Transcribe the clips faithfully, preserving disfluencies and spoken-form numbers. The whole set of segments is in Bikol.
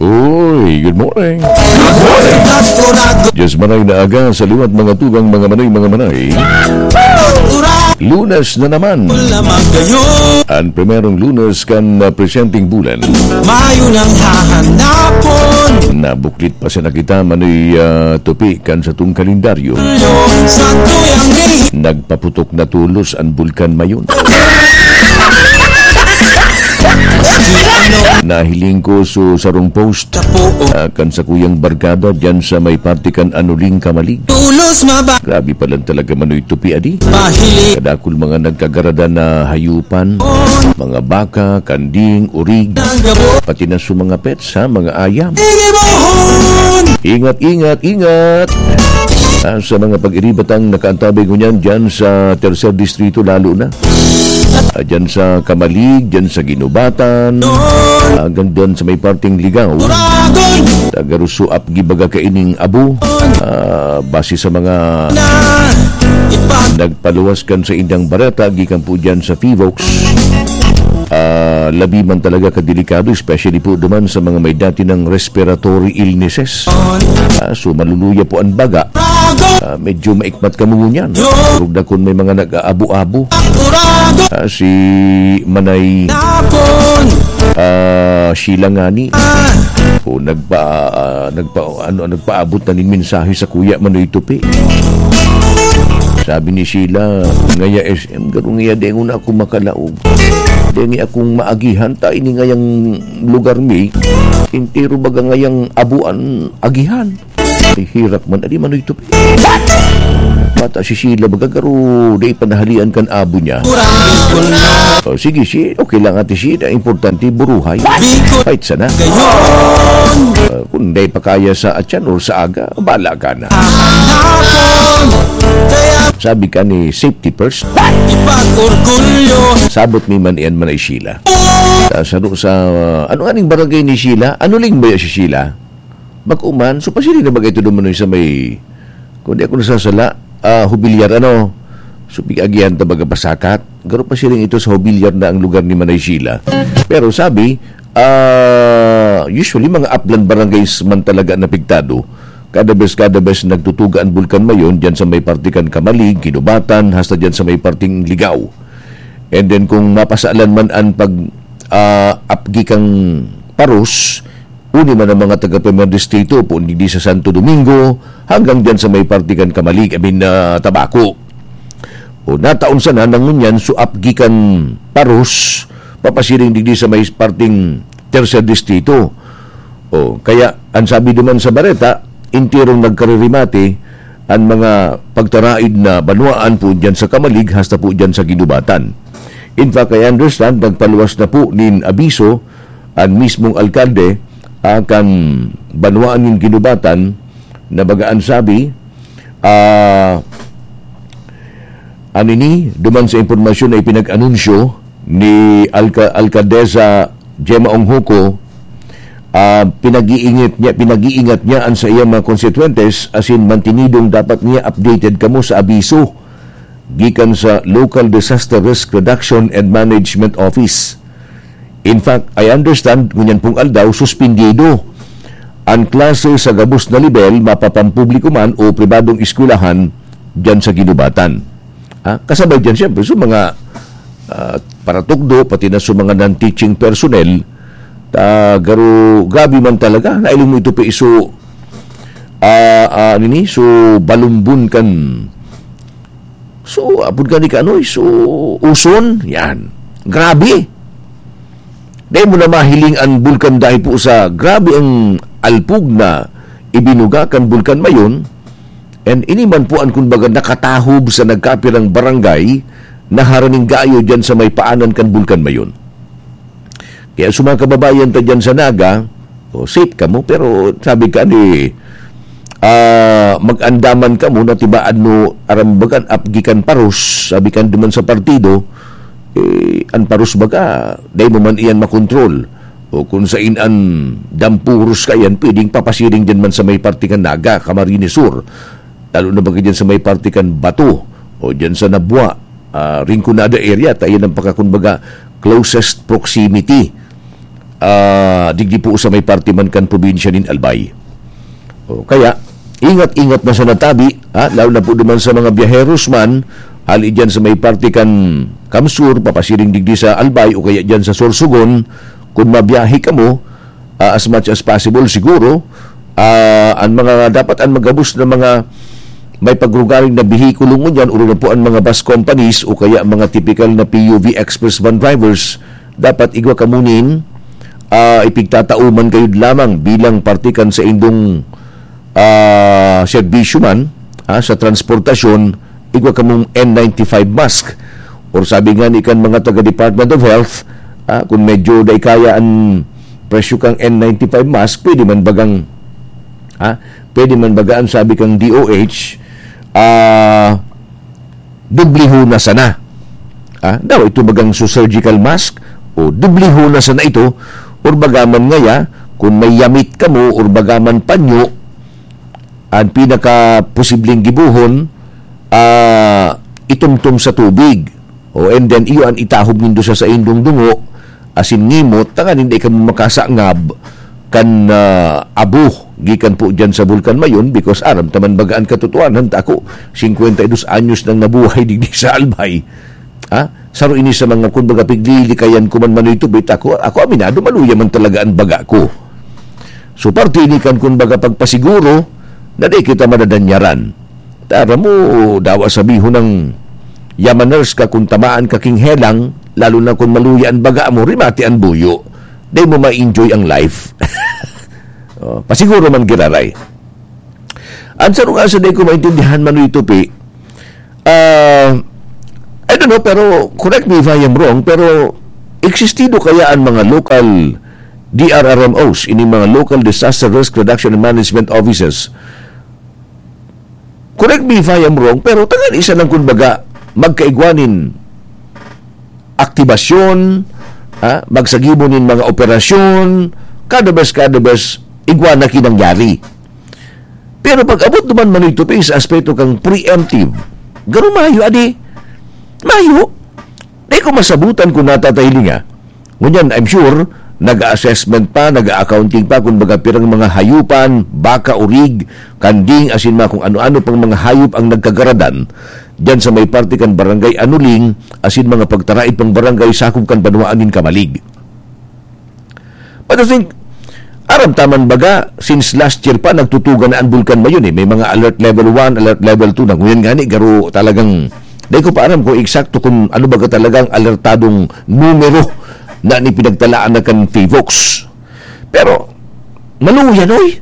Uy, good morning. Diyos manay na aga sa liwat, mga tugang, mga manay, mga manay. Lunes na naman. Ang primerong Lunes kan, ah, presenting bulan. Mayo nang hahanapon. Nabuklit pa sana kita, Manoy, ah, Tupi, kan satong kalendaryo. Sa tuyang ri- Nagpaputok na tulos ang Bulkan Mayon. Nahiling ko so sarong post, ah, kan sakuyang barkada diyan sa may parte kan Anuling, Camalig. Tulos maba- Grabe pa lang talaga, Manoy Tupi, adi. Pahili. Kadakul mga nagkagaradan na hayupan, mga baka, kanding, urig, pati na sa mga pets, ha, mga ayam. Ingat, ingat, ingat! Ah, sa mga pag-iribatang nakaantabay ngunyan dyan sa Tercer Distrito, lalo na. Ah, dyan sa Camalig, dyan sa Guinobatan, hanggang dyan sa may parteng Ligao. Tagaruso ap gibaga kaining abo. Ah, base sa mga nagpaluwas kan sa indang bareta, gikan po dyan sa Fivox. Ah, labi man talaga kadelikado, especially po duman sa mga may dati ng respiratory illnesses. Ah, so, maluluya po ang baga. Ah, medyo maikmat kamo ngunyan. Durog na kun may mga nag-aabo-abo. Ah, si Manay, ah, Sheila ngani. O nagpa-, ah, nagpa-, ano, nagpaabot na nin mensahe sa kuya Manoy Tupi. Sabi ni Sheila, "Ngaya S M, garo ngaya dengon na ako makalaog. Dengi akong maagihan, ta ini ngayang lugar mi, entero baga ngayang abuan agihan." Ay, hirak man, adi Manoy Tupi. Bata si Sheila, baga garo, di panahalian kan abo niya. O, sige, si, okay lang, Ate Sheila. Importante, buruhay. Fight sana. Ah, kung di pa kaya sa atyan or sa aga, bala ka na. Sabi ka ni safety first. Sabot mi man iyan man ay Sheila. Sa, sa, sa, ano aning barangay ni Sheila? Ano ling ba si Sheila? Bako man, so pasiring na bagay ito duman sa may, kung di ako nasasala, ah, Hobilyar, ano? So, pig-agihan ta baga pasakat. Garo pasiring ito sa Hobilyar na ang lugar ni Manay Sheila. Pero sabi, ah, usually, mga upland barangays man talaga na apektado. Kada bes, kada bes nagtutuga ang Bulkan Mayon, dyan sa may parte kan Camalig, Guinobatan, hasta dyan sa may parteng Ligao. And then, kung mapasalan man ang pag, ah, apgi kang paros, uni man ang mga taga Primer Distrito, poon digdi sa Santo Domingo, hanggang diyan sa may parte kan Camalig, I mean, ah, Tabaco. O, nataon sana na ngunyan so apgi kan paros, papasiring digdi sa may parteng Tercer Distrito. O, kaya, ang sabi duman sa bareta, enterong nagkaririmate ang mga pagtaraid na banwaan po diyan sa Camalig, hasta po diyan sa Guinobatan. In fact, I understand, nagpaluwas na po nin abiso an mismong alkalde, ah, kan banwaan nin Guinobatan, na baga an sabi, ah, an ini, duman sa impormasyon na ipinag-anunsyo ni Alka-, Alkaldesa Gemma Onghoco, ah, pinag-iingat niya, pinag-iingat niya an sa iyang mga konstituyentes, asin mantinidong dapat niya updated kamo sa abiso gikan sa Local Disaster Risk Reduction and Management Office. In fact, I understand, ngunyan pong aldaw, suspindido an klase sa gabos na lebel, mapapampubliko man o pribadong eskwelahan, diyan sa Guinobatan. Ha? Kasabay diyan, siyempre, sa mga, ah, paratukdo, pati na sa mga non-teaching personnel, ta, garo, grabe man talaga, nailing mo ito pa iso, ah, ah, nini, so, balumbon kan So, apod ka ni Kanoy, so, uson, yan. Grabe. Dahil mo na mahiling ang bulkan dahil po sa grabe ang alpog na ibinuga kan Bulkan Mayon, and ini man po ang, kumbaga, nakatahob sa nagkapirang barangay na haraning gayo dyan sa may paanan kan Bulkan Mayon. Kaya sa mga kababayan ta dyan sa Naga, o, safe kamo, pero sabi ka ni, ah, mag-andaman kamo na tibaad no arambagan apgi kan paros, sabi kan duman sa partido, eh, an paros baga, dai mo man iyan makontrol. O kung sain an dampuros ka yan, pwedeng papasiring dyan man sa may parte kan Naga, Camarines Sur. Lalo na baga dyan sa may parte kan Bato, o dyan sa Nabua, ah, Rinconada area, ta iyan ang pagkakumbaga closest proximity. ah, digdi po sa may parte man kan probinsya nin Albay. O, kaya, ingat-ingat na sa natabi, ha? Lalo na po duman sa mga biyaheros man, hali dyan sa may parte kan Kamsur, papasiring digdi sa Albay o kaya dyan sa Sorsogon, kung mabiyahe kamo, ah, as much as possible siguro, ah, ang mga dapat ang magabos na mga may pagrugaring na behikulo ngunyan, uri na po ang mga bus companies o kaya mga typical na P U V express van drivers, dapat igwa kamo nin, ah, ipigtatao man kayo lamang bilang parte kan saindong, ah, serbisyo man, ah, sa transportasyon, igwa kamong N ninety-five mask. Or sabi nga ni kan mga taga Department of Health, ah, kung medyo dai kaya ang presyo kang N ninety-five mask, pwede man bagang, ah, pwede man baga ang sabi kang D O H, ah, dubliho na sana. Ah, daw ito bagang su surgical mask o dubliho na sana ito, or baga man ngaya, kung may yamit kamo or baga man panyo, ang pinakaposibleng gibohon, ah, itumtom sa tubig. O, and then, iyo an itahob nindo sa saindong dungo, asin ngimot, tanganing dai kamo makasangab kan, ah, abo gikan po dyan sa Bulkan Mayon, because aram ta man baga an katotohanan ta, ako, singkwenta y dos anyos nang nabuhay digdi sa Albay. Ha? Saro ini sa mga, kumbaga, piglilikayan ko man, Manoy Tupit, ako, ako aminado, maluya man talaga an baga ko. So, parte ini kan, kumbaga, pagpasiguro na di kita madadanyaran. Tara mo, dawa sabihon ng yamaners ka kung tamaan ka king helang, lalo na kung maluya an baga mo, rimati an buyo. Di mo ma-enjoy ang life. Oh, pasiguro man giraray. Ang sarong asa di ko maintindihan, Manoy Tupi, ah, I don't know, pero correct me if I am wrong, pero existido kaya ang mga local D R R M Os, ini mga Local Disaster Risk Reduction and Management Offices? Correct me if I am wrong, pero tangan isa lang, kumbaga, magkaigwa nin aktibasyon, ha? Magsagibo nin mga operasyon, kada bes, kada bes, igwa na kinangyari. Pero pag abot naman, Manoy Tupi, sa aspeto kang preemptive, garo mayo, adi. Mayo. Di ko masabutan kung natatahilinga. Ngunyan, I'm sure, nag-assessment pa, nag-accounting pa, kung baga pirang mga hayupan, baka, urig, kanding, asin mga kung ano-ano pang mga hayop ang nagkagaradan dyan sa may parte kan Barangay Anuling, asin mga pagtaraid pang barangay sakop kan banwaan nin Camalig. But I think, aram ta man baga, since last year pa, nagtutugan na ang Bulkan Mayon eh. May mga alert level one, alert level two na. Ngunyan nga ni, garo talagang, di ko pa aram kung eksakto kung ano baga talagang alertadong numero na ni pinagtalaan na kan PHIVOLCS. Pero, maluya, noy.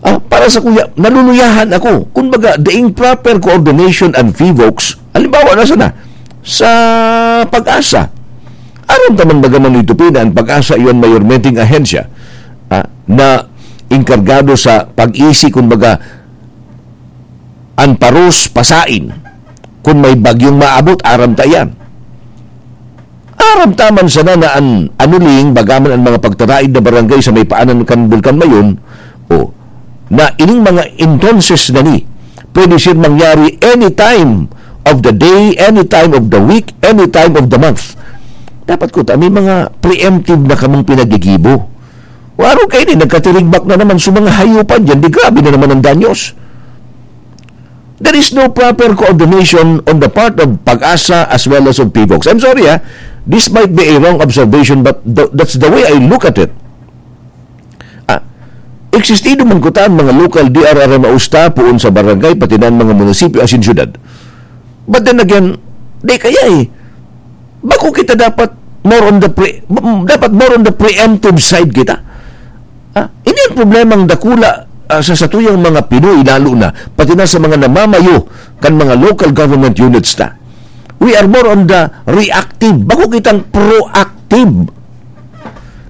Ah, para sa kuya, naluluyahan ako. Kumbaga, daing proper coordination and PHIVOLCS, halimbawa na sana, sa PAGASA. Aram ta man baga, Manoy Tupi, na ang PAGASA iyon mayormenteng ahensya, ah, na inkargado sa pag-isi, kumbaga, an paros pasain. Kun may bagyong maabot, aram ta iyan. Aram ta man sana na an Anuling, bagaman an mga pagtaraid na barangay sa may paanan kan Bulkan Mayon, o, na ining mga entonces na ni, pwede siya mangyari anytime of the day, anytime of the week, anytime of the month. Dapat ko ta, may mga preemptive na kamong pinagigibo. Waro kayo ni, nagkatirigbak na naman sa mga hayupan dyan, di grabe na naman ang danyos. There is no proper coordination on the part of PAGASA as well as of PHIVOLCS. I'm sorry, ha. This might be a wrong observation, but th- that's the way I look at it. Ah, existido man kuta ang mga local D R R M Os ta poon sa barangay, pati na ang mga munisipyo asin syudad. But then again, di kaya eh. Bako kita dapat more on the pre-, dapat more on the preemptive side kita. Ah, ini ang problemang dakula, ah, sa satuyang mga Pinoy, lalo na, pati na sa mga namamayo kan mga local government units ta. We are more on the reactive. Bako kitang proactive.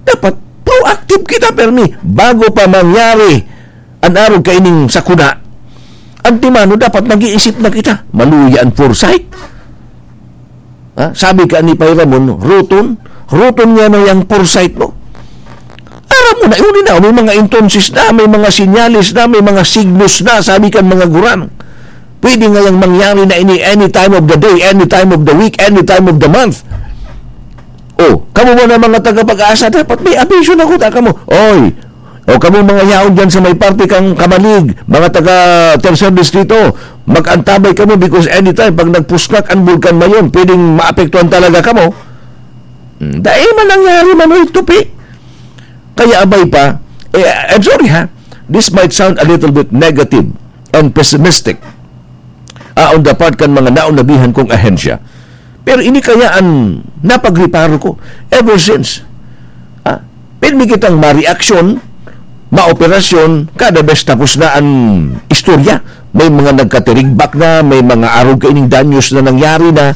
Dapat proactive kita, permi. Bago pa mangyari an arog kaining sakuna, antemano dapat nag-iisip na kita. Maluya an foresight. Ha? Sabi ka ni Pay Ramon, ruton, ruton nga na yang foresight mo. Aram mo na, yun na, may mga entonces na, may mga sinyales na, may mga signos na, sabi kan mga gurang. Pwede nga yang mangyari na ini any time of the day, any time of the week, any time of the month. O, kamo man na mga taga-Pag-asa, dapat may abiso na kuta kamo. Oy, o kamo mga yaon dyan sa may parte kang Camalig, mga taga Tercer Distrito, mag-antabay kamo because anytime pag nagpusngak ang Bulkan Mayon, pwedeng maapektuhan talaga kamo. Hmm, dai man nangyari, Manoy Tupi. Kaya abay pa, eh, I'm sorry ha, this might sound a little bit negative and pessimistic, ah, on the part kan mga naonabihan kong ahensya. Pero ini kaya an napagreparo ko ever since. Ah, pirmi kitang mareaksyon, maoperasyon, kada bes tapos na an istorya. May mga nagkatirigbak na, may mga arog kaining danyos na nangyari na.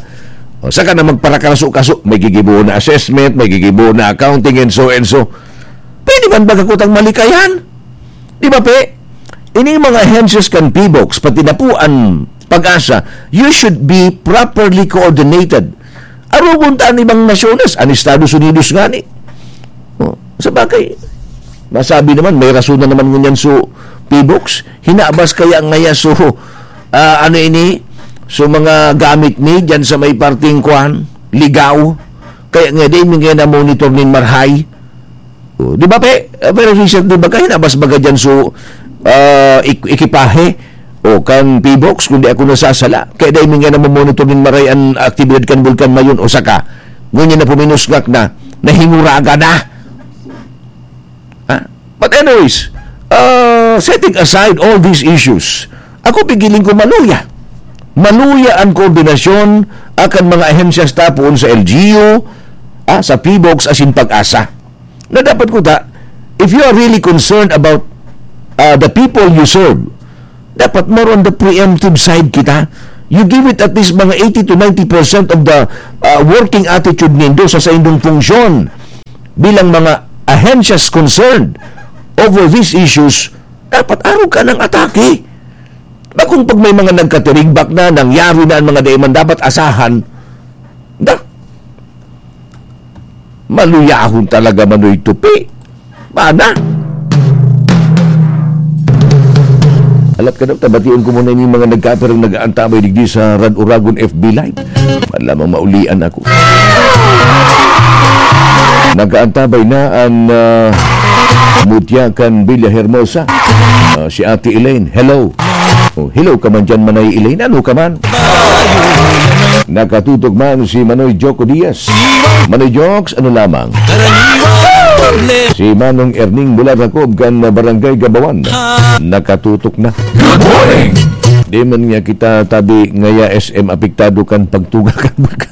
O, saka na magparakaraso-kaso, may gigibo na assessment, may gigibo na accounting, and so, and so. Pwede man baga kutang malikayan? Di ba, Pe? Ining mga ahensyas kan P box, pati na po an Pag-asa, you should be properly coordinated. Arogon ta an ibang nasyones, an Estados Unidos ngani. Oh, sa bagay, masabi naman, may rason na naman ngunyan so P box. Hinabas kaya ngaya so, ah, ano ini, so mga gamit ni dyan sa may parting kwan, ligaw. Kaya nga, di, may nga na-monitor nin marhay. Oh, di ba, pe? Ah, pero recently, baga hinabas baga dyan so, ah, ik-, ekipahe o kan P box, kung di ako nasasala. Kaya dahil nga namomonitor nin maray an aktibidad kan Bulkan Mayon, o saka, ngunyan na puminusngak na, nahinguraga na. Ah, but anyways, ah, setting aside all these issues, ako pigiling ko maluya. Maluya ang koordinasyon akan mga ahensyas ta poon sa L G U, ah, sa P box asin Pag-asa. Na dapat kuta, if you are really concerned about, uh, the people you serve, dapat more on the preemptive side kita. You give it at least mga eighty to ninety percent of the, uh, working attitude nindo sa saindong funksyon bilang mga ahensyas concerned over these issues. Dapat arog ka ng atake. Bakong pag may mga nagkatirigbak na, nangyari na ang mga dai man dapat asahan, da, maluyahon talaga, Manoy Tupi. Bana? Alat ka daw, tabation ko muna yung mga nagkaperang nag-aantabay digdi sa Rad Uragon F B Live. Man lamang maulian ako. Nag-aantabay na an, ah, mutya kan Villa Hermosa. Ah, si Ate Elaine. Hello. Oh, hello ka man dyan, Manay Elaine. Ano ka man? Nakatutok man si Manoy Joko Diaz. Manoy Jokes, ano lamang? Si Manong Erning mula Racob kan Barangay Gabawan. Nakatutok na. Good morning! Di man nga kita tabi ngaya S M apektado kan pagtuga kan bulkan.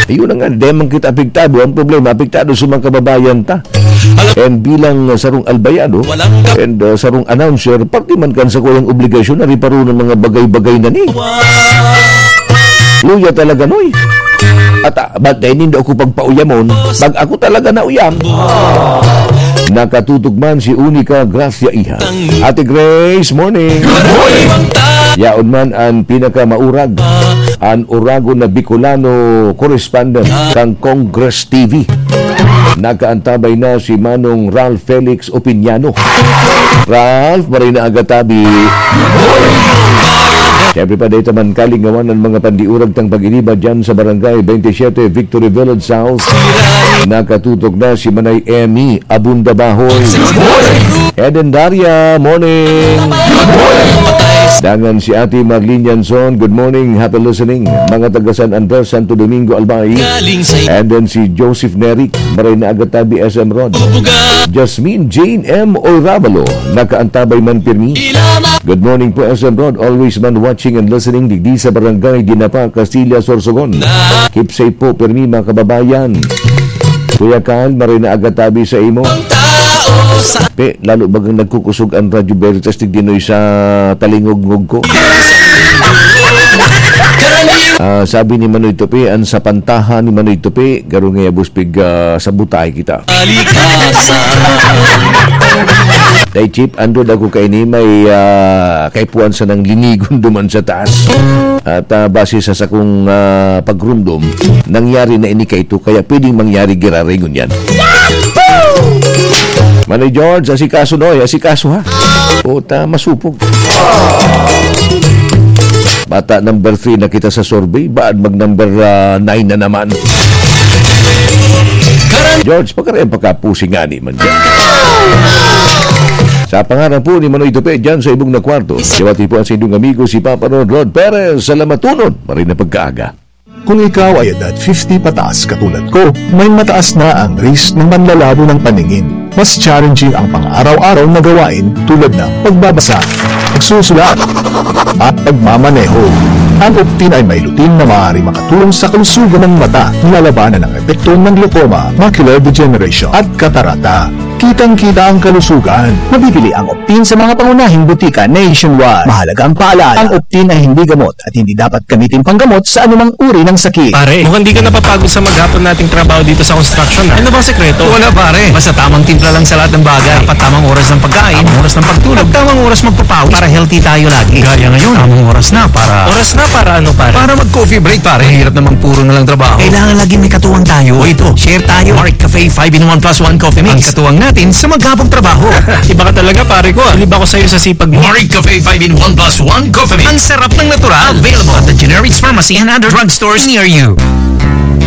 Ayun na nga, di man kita apektado. Ang problema, apektado sa mga kababayan ta. And bilang, uh, sarong albayado and, uh, sarong announcer, parte man kan sa kuyang obligasyon na riparo ng mga bagay-bagay na ni. Luya talaga, Noy. At, ah, ba't dahil nindo ako pagpauyamon? Pag ako talaga nauyam. Nakatutok man si Unica Gracia Iha. Ate Grace, morning. Good morning. Yaon man an pinakamaurag, an uragon na Bicolano correspondent kan Congress T V. Nakaantabay na si Manong Ralph Felix Opiniano. Ralph, maray na aga tabi. Siyempre pa, dahil taman kalingawan ng mga pandiurag tang pag-iriba dyan sa Barangay twenty-seven, Victory Village South. Nakatutok na si Manay Emmy Abunda Bahoy. Eden Daria, morning. Dangan si Ate Marlene Yanson, good morning, happy listening. Mga taga San Andres, Santo Domingo, Albay. And then si Joseph Neric, maray na aga tabi, S M Rod. Jasmine Jane M Oiravalo, nakaantabay man pirmi. Good morning po, S M Rod. Always man watching and listening digdi sa Barangay Dinapa, Castilla, Sorsogon. Keep safe po, pirmi, mga kababayan. Kuya Kyle, maray na aga tabi sa imo. Pe, lalo bagang nagkukusog ang Radyo Veritas digdi, Noy, sa talingogngog ko. Ah, sabi ni Manoy Tupi, ang sapantahan ni Manoy Tupi, garo nga yabos pig, ah, sabotay kita. Dai, Chief, andod ako kaini, may, ah, kaipuhan sanang linigon duman sa taas. At, ah, base sa sakong, ah, pagrumdom, nangyari na ini kaito, kaya pwedeng mangyari giraray ngunyan. Manoy George, asikaso, Noy, asikaso, ha? Puta, masupog. Bata number three na kita sa survey, baad mag number, ah, nine na naman. George, pagkarayan pagkapusi nga ni man dyan. Sa pangaran po ni Manoy Tupi dyan sa ibong na kwarto, siwati po ang sa inyong amigo si Papa Rod Rod Perez. Salamatunod, maray na pagkaaga. Kung ikaw ay edad fifty pataas katulad ko, may mataas na ang risk ng manlalabo ng paningin. Mas challenging ang pang-araw-araw na gawain tulad ng pagbabasa, pagsusulat, at pagmamaneho. Ang Optin ay may lutein na maaari makatulong sa kalusugan ng mata, nilalabanan ang epekto ng glaucoma, macular degeneration, at katarata. Kitang-kita ang kalusugan. Mabibili ang Optin sa mga pangunahing butika nationwide. Mahalagang paalala, ang Optin ay hindi gamot at hindi dapat gamitin panggamot sa anumang uri ng sakit. Pare, mukhang di ka napapagod sa maghapon nating trabaho dito sa construction, ah. Ano bang sekreto? Wala, pare. Basta tamang timpla lang sa lahat ng bagay. Dapat tamang oras ng pagkain, tamang oras ng pagtulog, at tamang oras magpapawis para healthy tayo lagi. Gaya ngayon, tamang oras na para Oras na para ano, pare? Para mag-coffee break, pare. Hirap namang puro na lang trabaho. Kailangan lagi may katuwang tayo. O ito, share tayo. Marik Cafe five in one plus one Coffee Mix. Ang katuwang natin sa maghapong trabaho. Iba ka talaga, pare ko, ah. Bilib ako sa'yo sa sipag mo. Marik Cafe five in one plus one Coffee Mix. Ang sarap ng natural. Available at the generics pharmacy and other drugstores near you.